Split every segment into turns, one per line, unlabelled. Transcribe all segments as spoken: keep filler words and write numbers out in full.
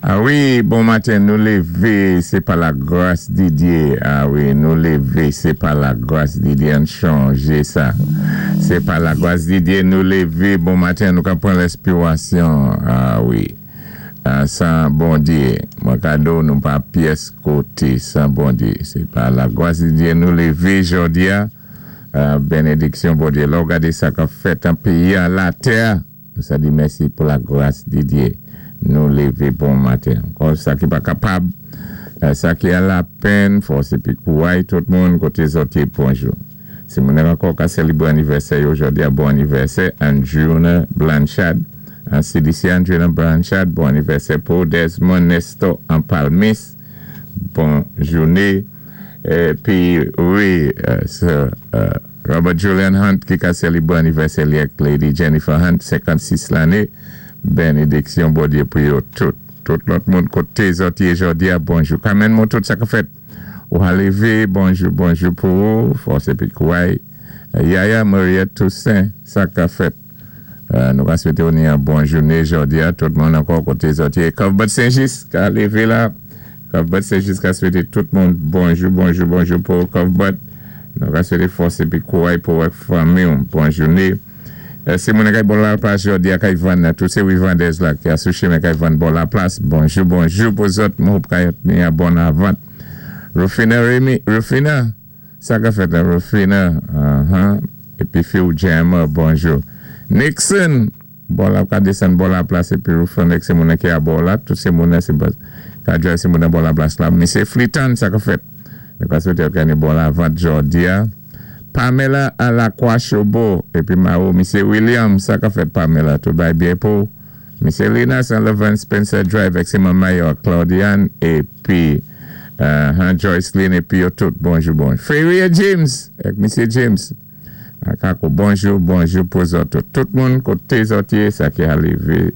Ah wi, bon maten, nou lévé, sé pa la gwas di Djé. Ah wi, nou lévé, sé pa la gwas di Djé, ann chanjé sa. Sé pa la gwas di Djé, nou lévé, bon maten, nou ka pran lèspirasyon. Ah wi, ah, san Bondjé, mwen ka di nou pa pyès koté, san Bondjé. Sé pa la gwas di Djé, nou lévé jòdi-a, ah, bénédiksyon Bondjé. Lè ou gadé sa k-ap fèt an péyi, an latè, nou sa di mèsi pou la gwas di Djé. Nou lévé bon maten. Kon sa ki pa kapab, sa ki an lapenn, fòs épi kouway tout moun koté zòt yé bonjou. Si moun ankò ka sélébwé anivèsè jòdi-a bon anivèsè, Andrewna Blanchard, an C D C Andrewna Blanchard, bon anivèsè pou Desmond Nestor an Palmis, bon jouné. Épi, wi, euh, euh, Robert Julian Hunt ki ka sélébwé anivèsè Lady Jennifer Hunt, senkannsis lanné, bénédiksyon Bondjé pou yo tout. Tout lòt moun koté zòt yé jòdi-a, bonjou. Kanmenn moun tout sa ka fèt. Ou a lévé, bonjou, bonjou pou ou, fòs épi kouway. Yaya Mariette Toussaint, sa ka fèt. Euh, nou ka swété ou ni yon bon jouné jòdi-a, tout moun ankò koté zòt yé. Cuthbert Saint-Just, ka lévé la. Cuthbert Saint-Just ka swété tout moun bonjou, bonjou, bonjou pou Cuthbert. Nou ka swété fòs épi kouway pou wèk fanmi, bon jouné. Si moun kay bò la plas jòdi a kay vann, tout sé Wivandez la ki a sou chimen kay vann bò la plas. Bonjou, bonjou pou zòt, mwen hope kay ni a bon avant. Rufina Remy, Rufina, sa ka fèt la, Rufina, uh-huh. Épi Phil Jammer, bonjou. Nixon, bò la ka désann bò la plas, épi Rufina Nixon moun ki a bò la, tout sé moun sé ka drive sé moun bò la plas la. Misé Fleeton, sa ka fèt. Nou ka swété kay ni bon avant jòdi a. Pamela à la Croix Chobo, épi Mao, Misé William, sa ka fèt Pamela, tout bay byen pou. Misé Lina Saint-Levant Spencer Drive, ak sé Mayo, Claudiane, épi uh, Joycelyn, épi yo tout, bonjou, bonjou. Ferrier James, ak Misé James. Kako, bonjou, bonjou pou zòt tout. Tout moun koté zòt yé, sa ki a lévé,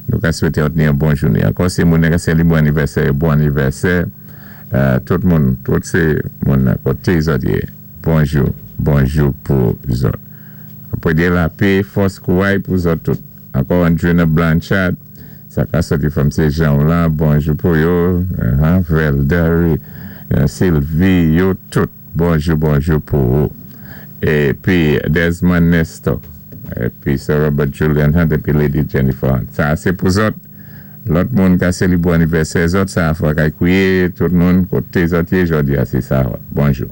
nou ka swété ot ni yon bon jouné. Ankò sé moun ka sélébwé anivèsè, bon anivèsè. Uh, tout moun, tout sé moun koté zòt yé. Bonjou, bonjou pou zòt. Apwé di lapè, fòs kouway pou zòt tout. Ankò Andrena Blanchard, sa ka soti from sé Jean la, bonjou pou yo, uh, Velder, uh, Sylvie, yo tout, bonjou, bonjou pou yo. Épi Desmond Nestor, épi Sir Robert Julian Hunt, épi Lady Jennifer Hunt. Sa sé pou zòt, lòt moun ka sélébwé anivèsè zòt, sa fwa kay kouwé, tout moun, koté zòt yé, jòdi a sé sa, bonjou.